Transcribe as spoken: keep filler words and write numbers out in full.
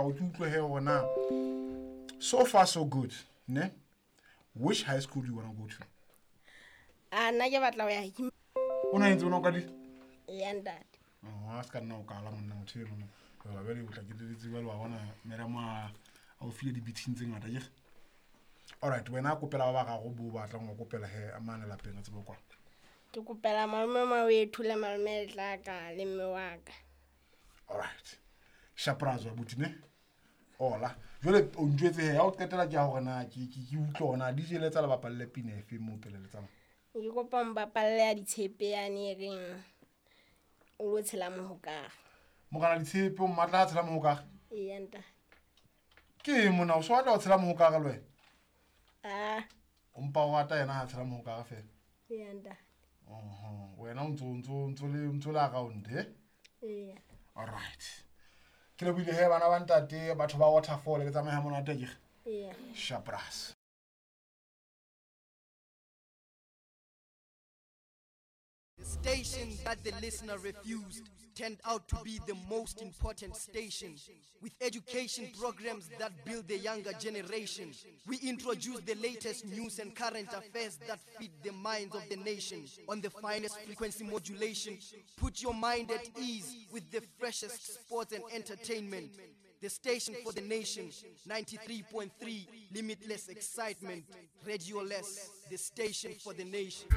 gago ke utlwe he gore na so far so good ne which high school do you wanna go to A nna ke batla ho ya Him- o na ntse o na o ka di ya ntate. a se ka nna o kala monna motho eno jala bjale o tla ke leletse jale wa bona meremo a a o file di-beating tse ngata kere alright wena a kopela ba ba gago bo batlang go kopela he a mane lapeng a tsebe kwa Ke kopela malome Mawethu le malome Letlaka le mme wa ka. alright shaprazo abuti ne ola jale o njwetse he ya o qetela ke ya gore na ke ke- ke utlwe gona dj letsa le bapalle pina efe mo pele le tsamaya Ke kopa mpapalle ya ditshepe yane e reng o lo tshela mohokare. mogana ditshepe o mmatla a tshela mohokage Eya ntate. ke eng monna o se batla go tshela mohokage le wena Ah, o mpa o rata yena ga a tshela mohokage fela eya ntate. Oho, wena o ntso o ntso o ntso le o ntso le around e Eya. alright ke lebohile he bana ba ntate batho ba waterfall le tsamaya monate akere Eya. shapras The station that the listener refused turned out to be the most important station. With education programs that build the younger generation, we introduce the latest news and current affairs that feed the minds of the nation. On the finest frequency modulation, put your mind at ease with the freshest sports and entertainment. The station for the nation, ninety-three point three, limitless excitement. Radio Less, the station for the nation.